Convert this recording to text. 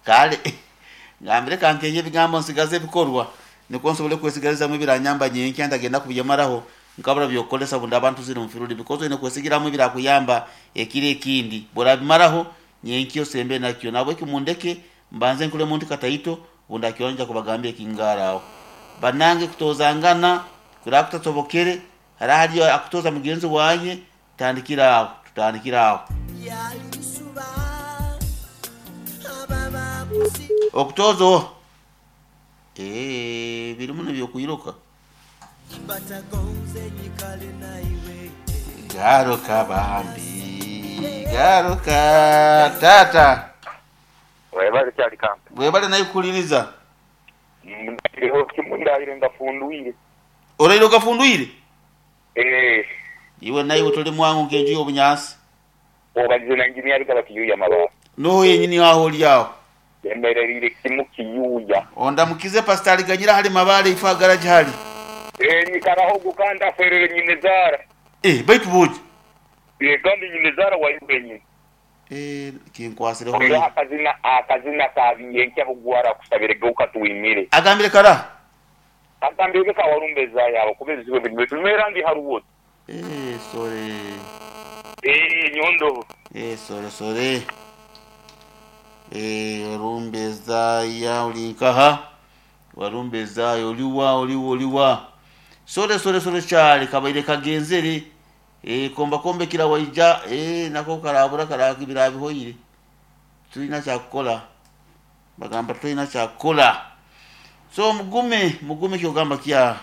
Kale ngambire kankeehe ebigambo nsigaze ebikorwa nikwo nsobole kwesigalizamu ebiranyamba nyenkya ntagenda kubyemaraho nkabura byokukolesa obu ndaba ntuzire omu firuudi, because oine kwesigiramu ebirakuyamba ekiro ekindi. Bworabimaraho nyenkya osembe nakyo. Nahabweki mundeke mbanze nkuremu nti kataito obu ndakirora nyija kubagambira ekingaara aho. Banange kutoozangana kuraba kutasobokere, hara hariyo akutooza mugenzi waye, tutandikire aho, tutandikire aho. Okutooza oha? Eeh birimu nebyokwiruka. Garuka bambi garuka taata. Webale kyali kampe. Webale naye kuhuliriza. Ndaireho kimu ndaire ngafundwire. Oraire ogafundwire? Eeh. Iwe naiwe toli mwangu nk'enju y'obunyansi. Obalize na engineer Bigaba Kiyuuya Mabaale. N'oho yenyini aho oli aho. Yemerereire kimu Kiyuuya. Ondamukize Pastor Aliganyira hali Mabaale ifo aha garage hali. Eeh nyikaraho ogwo kandi afwerere nyine zaara. Eeh baitu bwogi. Eeh kandi nyine zaara waiwe wenyini. Eeh kinkwasireho Oireho inho. akazina akazina ka Biyenkya Bugwara akusabire geuka twimire. Agambire kara. Agambire ge ka Walumbe ezayabo kuba ebizibu ebindi baitu nimera ndi haruwoto. Eeh sore. Eeh nyondo. Eeh sore sore. Eeh Walumbe ezaya oli nkaha? Walumbe ezaya oliwa oliwa oliwa? Sore sore sore kyali kabaire kagenzere. Eeh komba kombekira waija eeh nako karabura birabihoire. Titulina kyakukora. Bagamba titulina kyakukora. So mugume mugume kyogamba kya.